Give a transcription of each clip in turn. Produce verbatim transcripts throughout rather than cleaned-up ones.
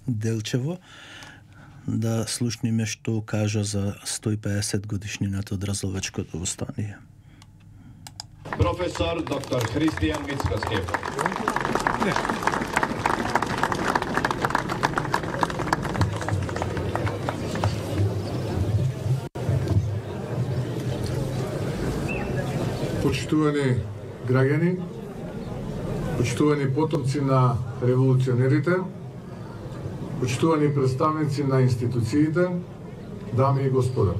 Делчево да слушниме што кажа за сто и педесет годишнината од Разловечкото востание. Професор доктор Христијан Мицкоски. Почитувани граѓани, почитувани потомци на револуционерите, почитувани представници на институциите, дами и господа.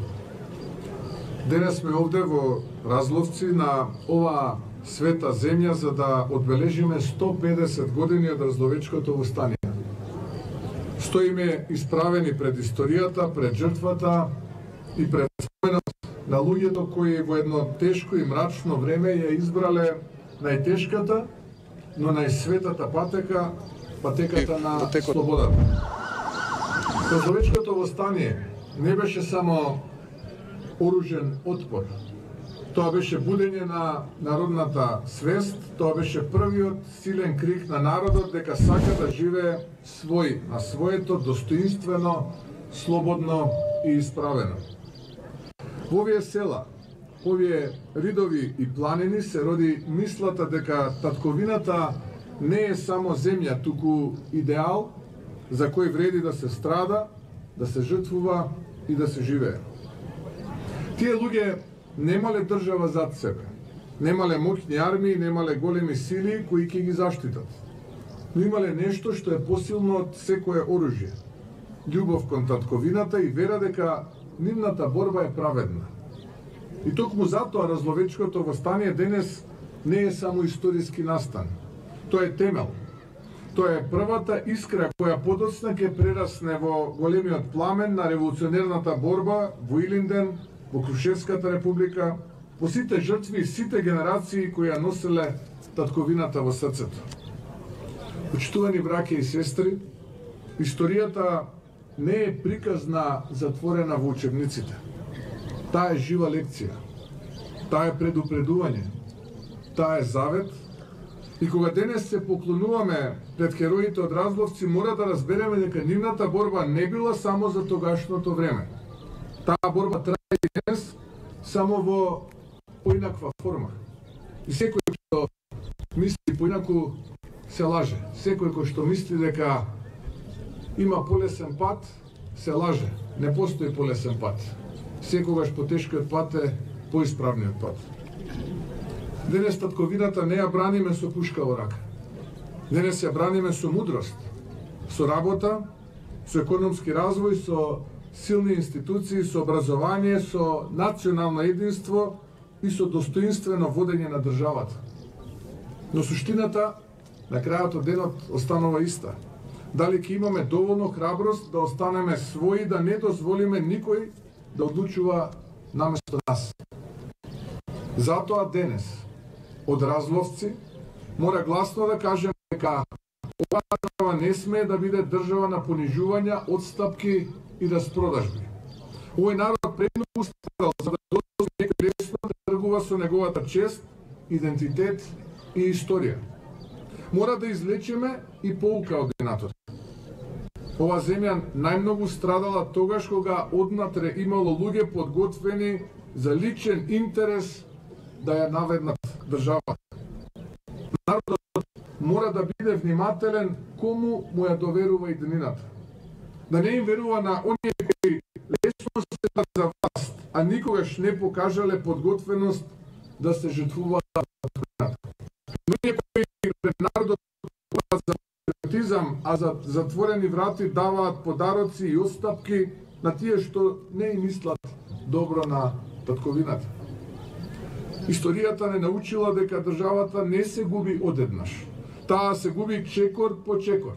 Денес сме овде во Разловци на оваа света земја за да одбележиме сто и педесет години од Разловечкото востание. Стоиме исправени пред историјата, пред жртвата и пред споменот на луѓето кои во едно тешко и мрачно време ја избрале најтешката, но најсветата патека, патеката на слободата. Разловечкото востание не беше само оружен отпор. Тоа беше будење на народната свест, тоа беше првиот силен крик на народот дека сака да живее свој, на своето достоинствено, слободно и исправено. Во овие села, овие ридови и планини се роди мислата дека татковината не е само земја, туку идеал за кој вреди да се страда, да се жртвува и да се живее. Тие луѓе немале држава зад себе, немале моќни армии, немале големи сили кои ќе ги заштитат, но имале нешто што е посилно од секое оружје. Љубов кон татковината и вера дека нивната борба е праведна. И токму затоа Разловечкото востание денес не е само историски настан. Тоа е темел. Тоа е првата искра која подоцна ќе прерасне во големиот пламен на револуционерната борба во Илинден, во Крушевската република, по сите жртви и сите генерации кои ја носеле татковината во срцето. Почитувани браќа и сестри, историјата не е приказна затворена во учебниците. Таа е жива лекција. Таа е предупредување. Таа е завет. И кога денес се поклонуваме пред хероите од Разловци, мора да разбереме дека нивната борба не била само за тогашното време. Таа борба трае и денес, само во поинаква форма. И секој што мисли поинаку се лаже. Секој кој што мисли дека има полесен пат, се лаже. Не постои полесен пат. Секогаш потешкиот пат е поисправниот пат. Денес татковината не ја браниме со пушка во рака. Денес ја браниме со мудрост, со работа, со економски развој, со силни институции, со образование, со национално единство и со достоинствено водење на државата. Но суштината на крајот од денот останува иста. Дали ќе имаме доволно храброст да останеме своји, да не дозволиме никој да одлучува наместо нас. Затоа денес од Разловци мора гласно да кажеме дека оваа држава не смее да биде држава на понижувања, отстапки и распродажби. Овој народ премногу страдал за да дозволи некој лесно да тргува со неговата чест, идентитет и историја. Мора да извлечеме и поука од денатот. Ова земја најмногу страдала тогаш кога однатре имало луѓе подготвени за личен интерес да ја наведнат државата. Народот мора да биде внимателен кому му ја доверува иднината. Да не им верува на оние кои лесно се за власт, а никогаш не покажале подготвеност да се жртвуваат за иднината. Но оние кои пред народот за патриотизам, а за затворени врати даваат подароци и отстапки на тие што не им мислат добро на татковината. Историјата не научила дека државата не се губи одеднаш. Таа се губи чекор по чекор,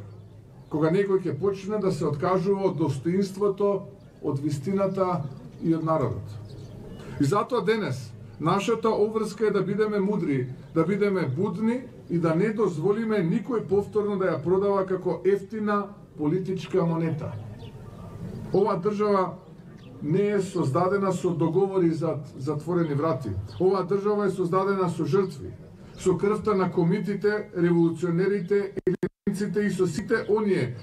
кога некој ќе почне да се откажува од достоинството, од вистината и од народот. И затоа денес нашата обврска е да бидеме мудри, да бидеме будни и да не дозволиме никој повторно да ја продава како ефтина политичка монета. Ова држава не е создадена со договори за затворени врати. Оваа држава е создадена со жртви, со крвта на комитите, револуционерите, елитниците и со сите оние